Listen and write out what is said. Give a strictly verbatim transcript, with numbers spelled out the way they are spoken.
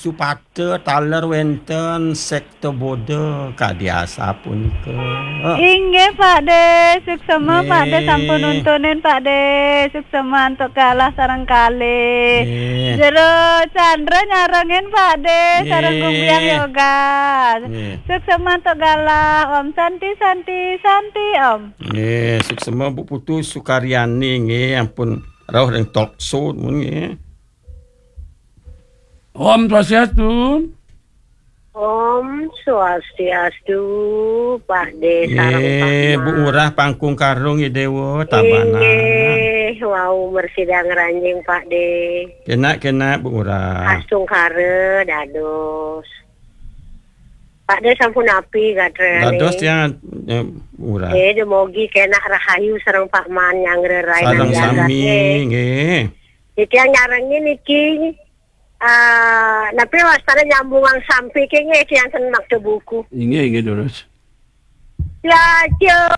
Cupada taler wénten sekte Buddha kadi asapunika. Inggih, Pak De. Suksema, Pak De, sampun nuntunin, Pak De. Suksema antuk galah sareng kalih. Nggih. Jero Chandra nyarengin, Pak De, sareng Nggih. Gumbiang Yoga. Nggih. Suksema antuk galah. Om Santi, Santi, Santi, Om. Nggih, suksema Bu Putu Sukaryani nggih, ampun rauh ring talk show mun nggih. Om Swastiastu. Om Swastiastu, Pak De sareng Pak Nggih, Bu Man. Ngurah Pangkung Karung nggih Déwa, Tabanan. Inggih, wau mrasida ngranjing, Pak De. Kenak, kenak, Bu Ngurah. Astungkara dados. Pak De sampun napi gatrané? Dados tiang, eh, Bu Ngurah. Eh, dumogi kenak rahayu sareng Pak Man nyanggra rainan Sareng jagat sami, nggih. Nggih. Titiang nyarengin niki, eh, napi wastane nyambungang sampi ke nggih, tiang ten makta buku. Inggih, inggih, durus. Lajeng